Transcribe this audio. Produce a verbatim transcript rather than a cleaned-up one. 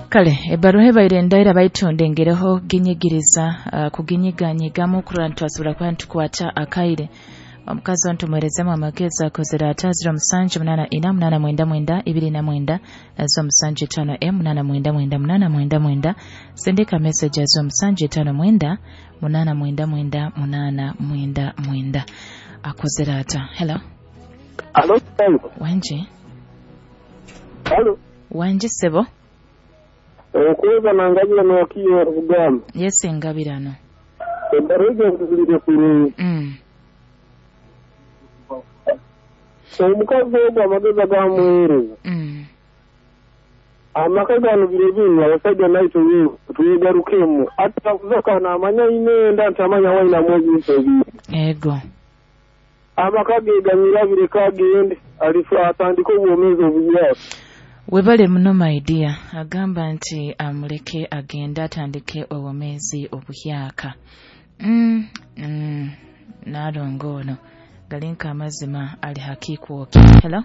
Kale ebbaruha ebaire ndaira baitu ndengereho ginyigiriza uh, kuginyiganyigamu kurora nitwasobora kuba nitukwata akaire. Omukazi onu tumuherezemu amagezi akozere ata? Ziro musanju munaana ina munaana mwenda mwenda ibiri na mwenda, ziro musanju etaano emu munaana mwenda mwenda munaana mwenda mwenda. Sindika message ya ziro musanju etaano mwenda munaana mwenda mwenda munaana mwenda mwenda. Akozere ata? Hello. Alo. Wangi. Alo. Wangi sebo. Okweza nangabira nokiyo rugamba. Yes, ngabirano. Ebbaruha nzire kurungi. Mm. Omukazi ogwo amagezi agamuweereza. Mm. Amaka gano biro binu abasajja naitwe twegarukemu atakuza namanya inenda nti amanya wainamu ebintu ebiri. Ego. Amaka ge ganyirabire kagende alifu atandike obwomeezi obuyaka. Webale muno my dear. Agamba nti amuleke agende atandike obwomeezi obuhyaka. Mm, mm, nalongo ono galinka amazima ali hakiikwoki. Hello.